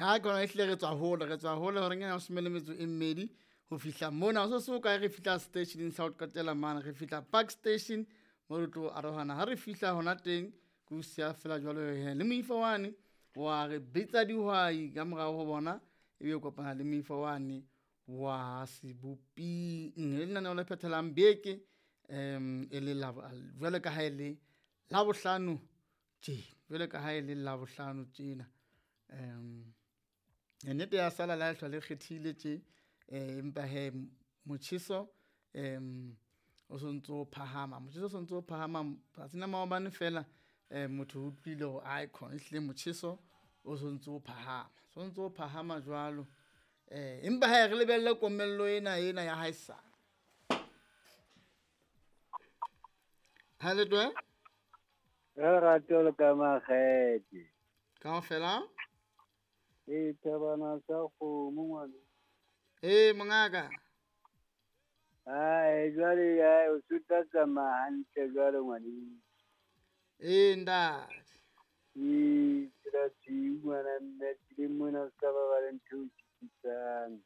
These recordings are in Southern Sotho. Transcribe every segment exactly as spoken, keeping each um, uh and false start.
Ha ke ona ehlile re tswa hole, re tswa hole horeng ya leshome le metso e mmedi ho fihla mona. Ho se se hokae re fihla seteisheneng sa ho qetela mane, re fihla Park Station mo re tlo arohana. Ha re fihla hona teng ke o siya feela jwalo he le moifo wane wa re bitsa dihwai ka morao ho bona, ebe o kopana le moifo wane wa Seboping. Le lenaneo le phethelang beke um e le jwalo ka ha e le Labohlano tjena, jwalo ka ha e le Labohlano tjena. Um nnete ya sala le ha lehlwa le kgethile tje, eh empa hee motjheso um o sontso o phahama, motjheso o sontso o phahama. Tsatsing la maobane feela um motho o utlwile hore aekhona ehlile motjheso o sontso o phahama, sontso o phahama jwalo. Eh empa hee re lebelle komello ena ena ya haesale. Ha le twe? Ka lerato le ka makgethe. Kaofela? Ee, thabana sa kgomo ngwana. Ee, mongaka. Ae, jwale ae o so tla tsamaya hantle jwale ngwaneso. Ee, ntate. Ee, tsela tshweu ngwana mme tseleng mona o ska ba ba le ntho e o sitisang.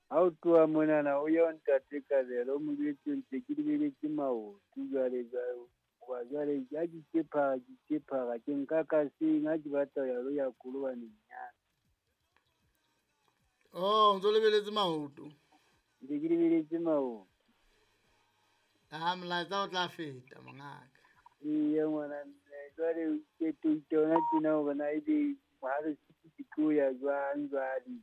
Ha o tloha monana o ye ho ntate Kabelo o mo jwetse ntse ke lebeletse maoto jwale jwale. Hoba jwale ha ke itse phara, ke itse phara, ke nka ka seng ha ke batla ho ya lo ya kolobaneng ya. Oh, o ntso lebeletse maoto. Ntse ke lebeletse maoto. Ah, molaetsa o tla feta mongaka. Eya ngwana mme, jwale ke toita hona tjena hore na ebe ha re ke tlo ya jwang jwale.